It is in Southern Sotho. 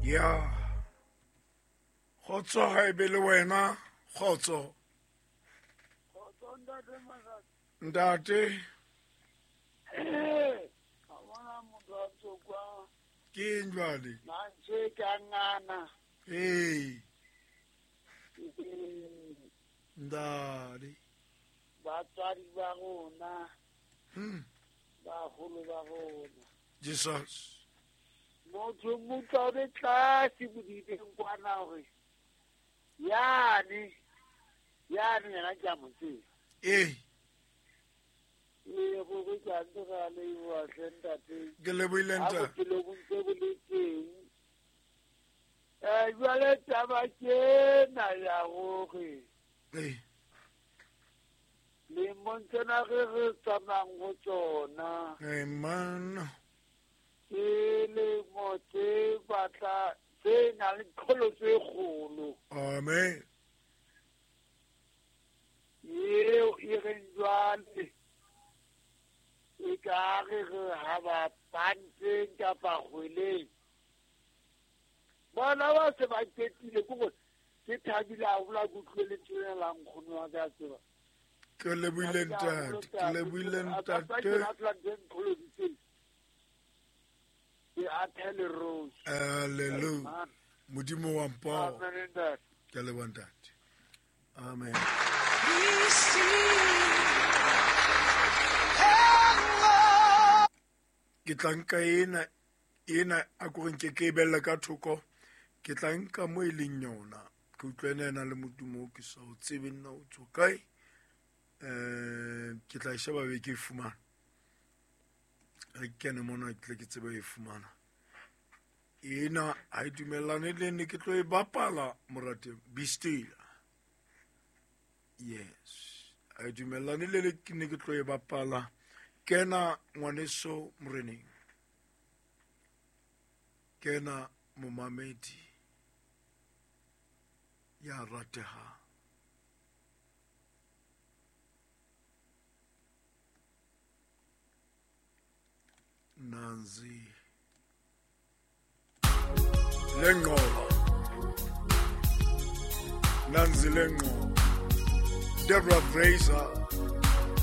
Ya kgotso ha e be le wena kgotso. Ntate. Ke eng jwale? Mantswe ka ngana. Ee. Ntate. Batswadi ba rona. Baholo ba rona. Jesus. Motho motho o tlase bodibeng kwana hore yane yane yena ke a mo tseba. Ee. Ee, gore ke a ntse ra leboha hle ntate. Ke lebohile Ha ntate. bophelo bo ntse bo le teng. Jwale taba ke ena ya hore Ee. lemong tsena re re tsamayang ho tsona. Amen. Ke lemo tse batla tse nang le diqholotso tse kgolo. Amen. Eo e reng jwale e ka re re ha ba pantseng kapa kgweleng. Bona ba se ba qetile ke hore ke thabile haholo ha ke utlwile lentswe lena la nkgono wa ka tseba. Ke lebohile ntate, ke lebohile ntate. Ke athele rose. Hallelujah. Modimo wa mpao. Amen, ntate. Ke a leboha ntate. Amen. Ke tla nka ena ena a ko reng ke ke e bella ka thoko. Ke tla nka mo e leng yona. Ke utlwa ena e na le modumo o ke sa o tsebe nna o tswa kae. Ke tla e sheba be ke e fumana. Re kene mona ke tle ke tsebe e fumana. Ena ha e dumellane le nne ke tlo e bapala morate. Be still. Yes. Ha e dumellane le le ke ne ke tlo e bapala. Kena ngwaneso moreneng. Kena momamedi ya ratehang. Nanzi Lengola. Nanzi Lengola. Deborah Fraser.